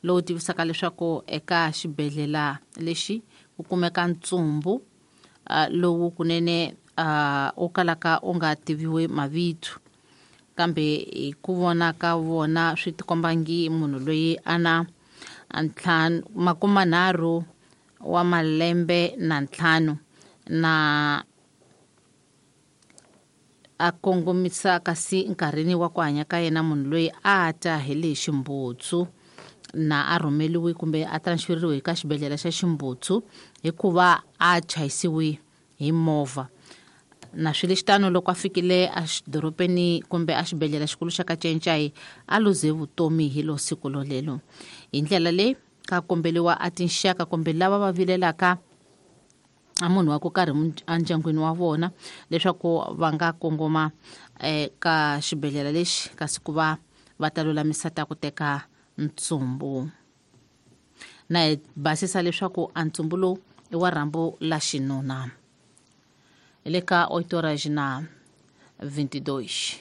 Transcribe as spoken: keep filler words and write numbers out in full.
lowu tivisaka leswaku eka xibedhlele lexi ku kumeka ntsumbu uh, lowu kunene uh, u kalaka u nga tiviwi mavito kambe hi ku vona ka vona swi tikombangi munhu loyi a na ntlhanu makumanharhu wa malembe na ntlhanu na a kongomisa kasi nkarhini wa ku hanya ka yena munhu loyi a ta hi le Ximbutsu na a rhumeliwe kumbe a transferiwe ka xibedhlele xa Ximbutsu hikuva a chayisiwe hi movha. Na swi lexi tano loko a fikile exidorobeni kumbe exibedhlele xikulu xa Kacencai a luze vutomi hi lo siku lolelo. Hi ndlela leyi ka kombeliwa a tinxaka kumbe lava va vilelaka a munhu wa ku karhi endyangwini wa vona leswaku va nga kongoma eka xibedhlele lexi kasi ku va va ta lulamisa ta ku teka ntsumbu. Na hi basisa leswaku a ntsumbu lowu i wa rhambu la xinuna. Le ka oito horas na vinte e dois.